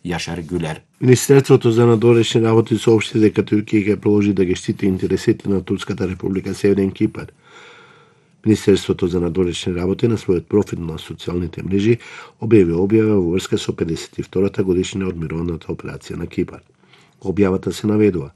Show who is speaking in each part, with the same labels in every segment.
Speaker 1: Јашар Гюлер.
Speaker 2: Министерството за надворешни работи соопшти дека Туркија ќе продолжи да ги штити интересите на Турската република Северен Кипар. Министерството за надворешни работи на својот профил на социјалните мрежи објави објава во врска со 52-та годишнина од мировната операција на Кипар. Објавата се наведува: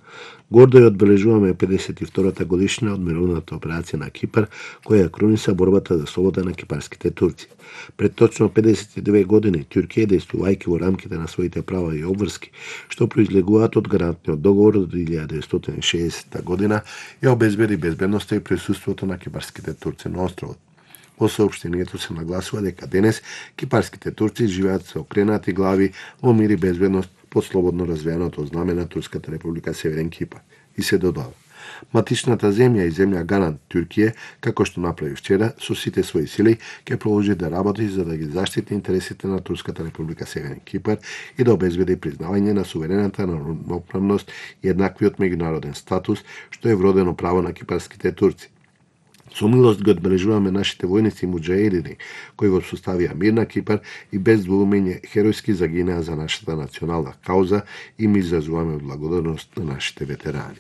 Speaker 2: гордо ја одбележуваме 52-та годишнина од мировната операција на Кипар, која круниса борбата за слобода на кипарските турци. Пред точно 52 години Туркија, действувајќи во рамките на своите права и обврски, што произлегуваат од гарантниот договор од 1960 година, ја обезбеди безбедноста и присуството на кипарските турци на островот. Во соопштението се нагласува дека денес кипарските турци живеат со окренати глави во мир и безбедност под слободно развиеното знаме на Турската република Северен Кипар. И се додава: матичната земја и земја гарант Туркија, како што направи вчера, со сите своји сили ќе продолжи да работи за да ги заштити интересите на Турската република Северен Кипар и да обезбеди признавање на суверената равноправност и еднаквиот меѓународен статус, што е вродено право на кипарските турци. Со милост ги одбележуваме нашите војници и муџаедини, кои го составија мир на Кипар и без двоумење херојски загинаа за нашата национална кауза, и ми изразуваме благодарност на нашите ветерани.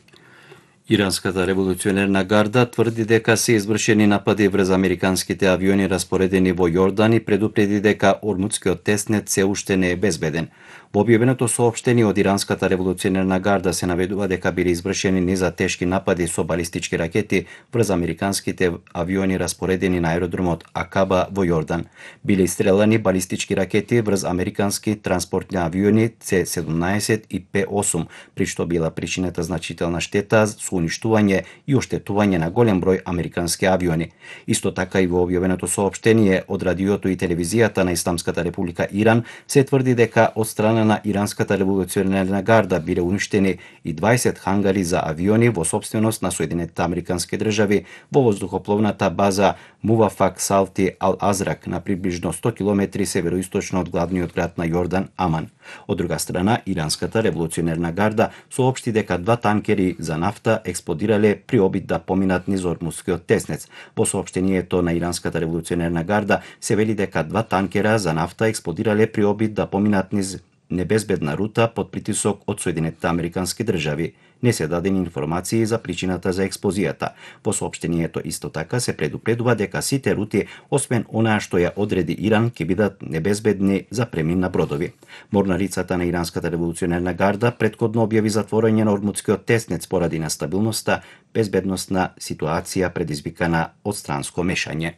Speaker 1: Иранската револуционерна гарда тврди дека се извршени напади врз американските авиони распоредени во Јордан и предупреди дека Ормудскиот теснет се уште не е безбеден. Во објавеното соопштение од Иранската револуционерна гарда се наведува дека биле извршени низа тешки напади со балистички ракети врз американските авиони распоредени на аеродромот Акаба во Јордан. Биле истрелани балистички ракети врз американски транспортни авиони C-17 и P-8, при што била причинета значителна штета со уништување и оштетување на голем број американски авиони. Исто така и во објавеното соопштение од радиото и телевизијата на Исламската република Иран се тврди дека од страна на Иранската револуционерна гарда биле уништени и 20 хангари за авиони во сопственост на Соединетите Американски држави во воздухопловната база Мувафак Салти Ал-Азрак на приближно 100 км североисточно од главниот град на Јордан, Аман. Од друга страна, Иранската револуционерна гарда соопшти дека 2 танкери за нафта експлодирале при обид да поминат низ Ормудскиот теснец. Во соопштението на Иранската револуционерна гарда се вели дека 2 танкера за нафта експлодирале при обид да поминат низ небезбедна рута под притисок од Соединетите Американски држави. Не се дадени информации за причината за експлозијата. Во соопштението исто така се предупредува дека сите рути, освен онаа што ја одреди Иран, ќе бидат небезбедни за премин на бродови. Морнарицата на Иранската револуционерна гарда претходно објави затворање на Ормудскиот теснец поради нестабилноста, безбедносна ситуација предизвикана од странско мешање.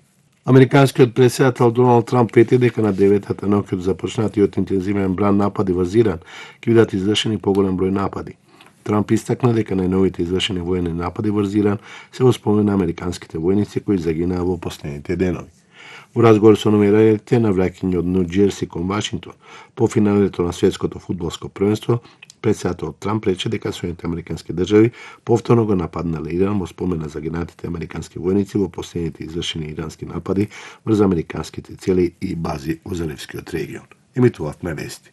Speaker 2: Американскиот претседател Доналд Трамп прети дека на 9-та ноќ од започнатиот интензивен бран напади во Иран ќе бидат извршени поголем број напади. Трамп истакна дека најновите извршени воени напади во Иран се во спомен на американските војници кои загинаа во последните денови. Во разговор со новинарите на враќање од Нью Џерси кон Вашингтон по финалето на светското фудбалско првенство, претседателот Трамп рече дека Соединетите Американски држави повторно го нападнале Иран во спомен на загинатите американски војници во последните извршени ирански напади врз американските цели и бази во Заливскиот регион. Емитувавме вести.